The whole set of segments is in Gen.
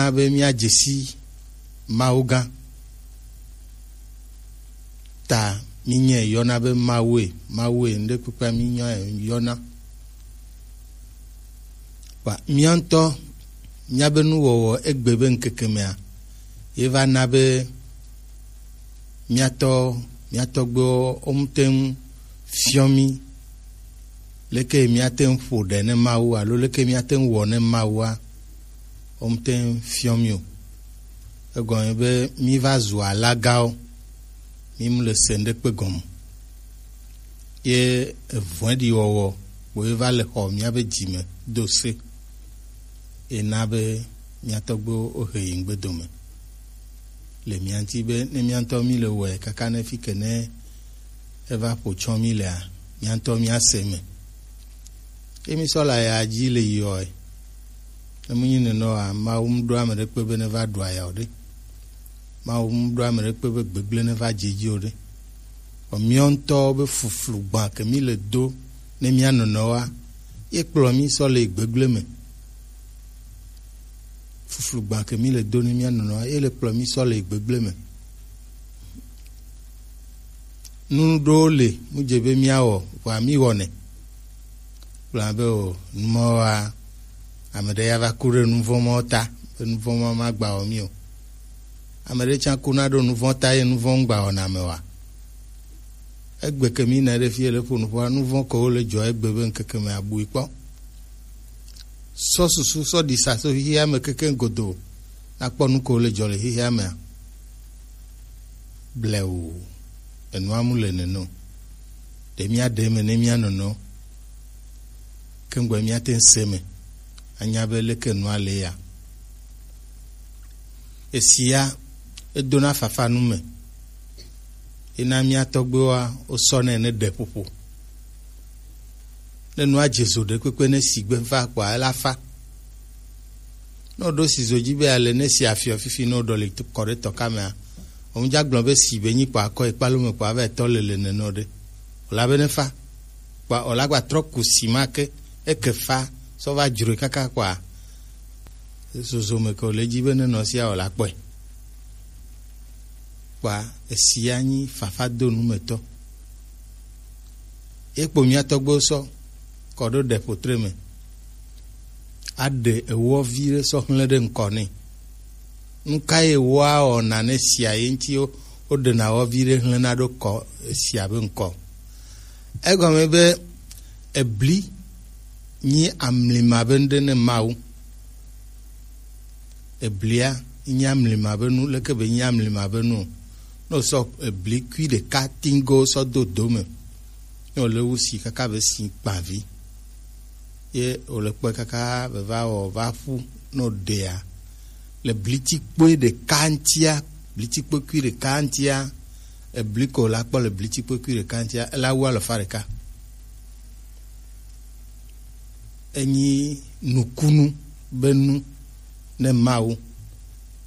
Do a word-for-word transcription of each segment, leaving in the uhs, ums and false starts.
míana be míadze si Mawu gã. Ta mínyae yɔna be Mawue, Mawue, ŋɖekpekpea mínyae yɔna. Kpa mía ŋutɔ míabe nuwɔwɔ egbe be ŋkeke mea, ye va na be mía tɔ, mía tɔgbuiwo wo ŋute ŋu fiɔ mí leke míate ŋu ƒo ɖe ne Mawu alo leke míate ŋu wɔ ne Mawua, wo ŋute ŋu fiɔ mí o. Egɔme be mí va zu alagawo, mí mu le se ŋɖekpe gɔme. Ye evɔ̃ɖiwɔwɔ kpoe va le xɔ míabe dzi me do se. Ena be mía tɔgbuiwo wohe yi ŋgbedo me le mía ŋuti be ne mía ŋutɔ mí le wɔe kaka ne fi ke ne eva ƒo tsɔ mí lea, mía ŋutɔ míase me. Ye mí sɔ le aya dzi le yiɔe. Ne mu nyi nenɔ oa, Mawu mu ɖo ame ɖekpe be ne va ɖu aya o ɖe. Mawu mu ɖo ame ɖekpe be gbegblẽ ne va dze dzi o ɖe. Vɔ míawo ŋutɔwo be fuflu gbã ke mí le do ne mía nɔnɔwoa, ye kplɔ mí sɔ le gbegblẽ me. Fuflu gbã ke mí le do ne mía nɔnɔwoa, ye le kplɔ mí sɔ le gbegblẽ me. Nu ɖewo le, mu dze be míawɔ, vɔa mí wɔnɛ. Kplɔ be o, numɔwoa, ame ɖe ya va ku ɖe nuvɔ̃ mɔ ta, be nuvɔ̃ ma magba wɔ mí o. Ame ɖe tsã kuna ɖo nuvɔ̃ ta ye nuvɔ̃ ŋgba wɔna ame oa? Egbe ke mí na ɖe fi ye le ƒo nuƒoa, nuvɔ̃ ke wo le dzɔ egbe be ŋkeke me abui kpɔ. Sɔ susu sɔ ɖi sa so xixia me kekeŋ godoo, nakpɔ nu ke wo le dzɔ le xixia mea. Bleu, enua mu le nene o. Ɖe míaɖe eme ne mía nɔnɔ, ke ŋgbɔ míate ŋu se eme, anya be leke nua le ya. Esia, edona fafa nu me. Ena mía tɔgbuiwoa, wosɔnɛ ne ɖeƒoƒo. Ne nua dze zo ɖe kpekpe ne sigbe va kpɔa, ela fa. Ne woɖo si zo dzi be ale ne si afiɔ fifi ne woɖɔ le kɔ ɖe tɔka mea, wo ŋdza gblɔ be si be nyi kpɔ akɔ ekpalo me kpɔ ava etɔ le le nene o ɖe. Wòla be ne fa. Kpɔ wòla gba trɔ ku si ma ke, eke fa, sɔ va dzroe kaka kpɔa, zozo me ke wòle dzi be ne nɔ sia wòla kpɔe. Kpɔa, esia nyi fafa do nu me tɔ. Ye kpo mía tɔgbuiwo sɔ kɔ ɖo ɖeƒotre me. Aɖe ewɔ vi ɖe sɔ hlẽ ɖe ŋkɔ nɛ. Nu ka ye wɔa wɔna ne sia ye ŋuti wo, woɖena wɔ vi ɖe hlẽna ɖo kɔ esia be ŋkɔ? Egɔme be ebli nyi amlima be ŋɖe ne Mawu. Eblia nyi amlima be nu, leke be nyi amlima be nu o? Ne wosɔ ebli kui ɖeka tingo sɔ do do me, ne wòle wu si kaka be si kpavi, ye wòle kpɔe kaka be va wɔ va ƒu ne wòɖea, le blitikpoe ɖeka ŋutia, blitikpoe kui ɖeka ŋutia, ebli ko la kpɔ le blitikpoe kui ɖeka ŋutia, ela wu alafa ɖeka. Enyi nukunu be nu ne Mawu.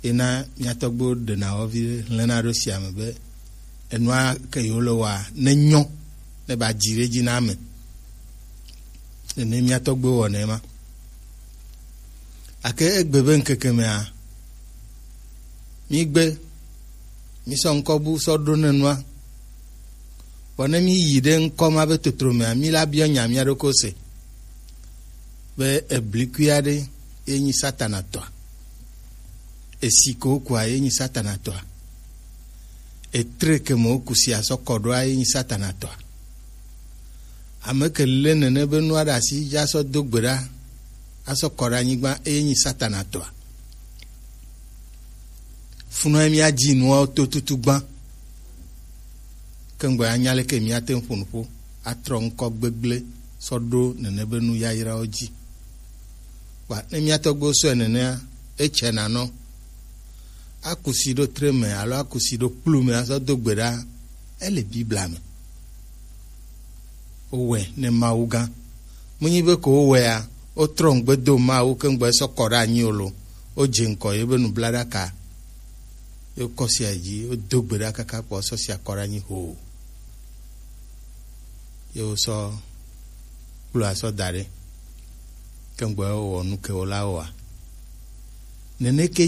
Ena mía tɔgbuiwo ɖena wɔ vi hlẽna ɖo sia me be enua ke yewo le wɔa ne nyɔ, ne ba dzi ɖe dzi na ame. Nene mía tɔgbuiwo wɔnɛ ma. Ake egbe be ŋkeke mea, mí gbe, mí sɔ ŋkɔ bu sɔ ɖo ne nua. Vɔ ne mí yi ɖe ŋkɔ ma be totro mea, mí la biɔ nya mía ɖokui se be eblikui aɖe ye nyi Satana tɔa. Esi ke wokua ye nyi Satana tɔa. Etre ke me woku si asɔ kɔ ɖoa ye nyi Satana tɔa. Ame ke lé nene be nua ɖe asi dzi asɔ do gbe ɖa, asɔ kɔ ɖe anyigba, eye nyi Satana tɔa. Funɔ ye míadzi nuawo to tutu gbã. Ke ŋgbɔ anya leke míate ŋu ƒo nu ƒo atrɔ ŋkɔ gbegblẽ sɔ ɖo nene be nu yayrawo dzi. Kpa ne mía tɔgbuiwo sɔe nenea, etsɛ nanɔ. Aku si ɖo tre me alo aku si ɖo kplu me azɔ do gbe ɖa, ele Biblia me. Wowɔe ne Mawu gã. Menyi be ko wowɔea, wotrɔ ŋugbe do Mawu ke ŋugbe sɔ kɔ ɖe anyi o lo. Wodze ŋkɔ ye be nublaɖaka. Ye wokɔ sia dzi, wodo gbe ɖa kaka kpɔ sɔ sia kɔ ɖe anyi hoo. Ye wosɔ kplu asɔ da ɖe. Ke ŋugbe wowɔ nu ke wola wɔa. Nene ke